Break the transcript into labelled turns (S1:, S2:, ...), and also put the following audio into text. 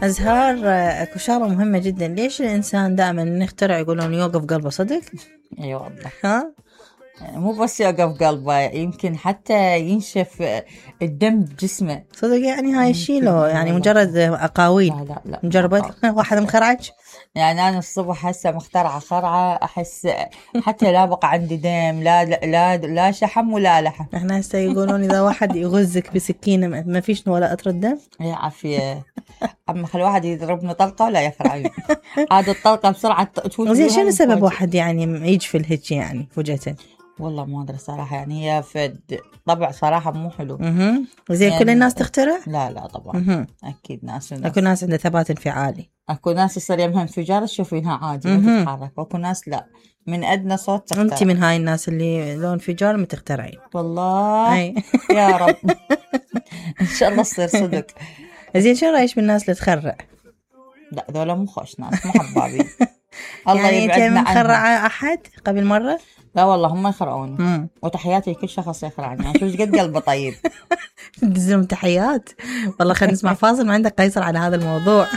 S1: أزهار، اكو شغلة مهمة جدا. ليش الإنسان دائما نخترع يقولون يوقف قلبه صدق؟
S2: اي والله.
S1: ها؟
S2: مو بس يوقف قلبه، يمكن حتى ينشف الدم بجسمه.
S1: صدق يعني هاي الشيء لو يعني مجرد أقاويل؟
S2: لا
S1: مجربت واحد مخرعج؟
S2: يعني أنا الصبح هسه مخترعة خرعة، أحس حتى لا بقى عندي دم، لا شحم ولا لحم.
S1: احنا هسه يقولون إذا واحد يغزك بسكينة ما فيش ولا قطرة دم.
S2: يا عافية. أما خل واحد يضربني طلقة ولا يخرعني. عاد الطلقة بسرعة تفوت.
S1: زين شنو سبب واحد يعني يجفل هيك يعني فجأة؟
S2: والله ما أدري صراحة، يعني هي طبع صراحة مو حلو.
S1: زين يعني كل الناس تخترع؟
S2: لا طبعا. أكيد ناس
S1: أكو ناس عندها ثبات انفعالي.
S2: أكو ناس يصير يمها انفجار تشوفينها عادي ما تتحرك، وأكو ناس لا، من أدنى صوت تخترع.
S1: أنت من هاي الناس اللي لو انفجار ما تخترعين؟
S2: والله يا رب. إن شاء الله تصير صدق.
S1: زين شو رأيش بالناس اللي تخرع؟
S2: لا ذولا مو خوش ناس، مو حبابين. الله
S1: يعني
S2: يبعدنا عنهم.
S1: أنت مخرعة أحد قبل مرة؟
S2: لا والله هم يخرعوني. وتحياتي لكل شخص يخرعني، يعني شوف قد قلبه طيب.
S1: تدزلهم تحيات. والله خلينا نسمع فاصل، ما عندك قيصر على هذا الموضوع.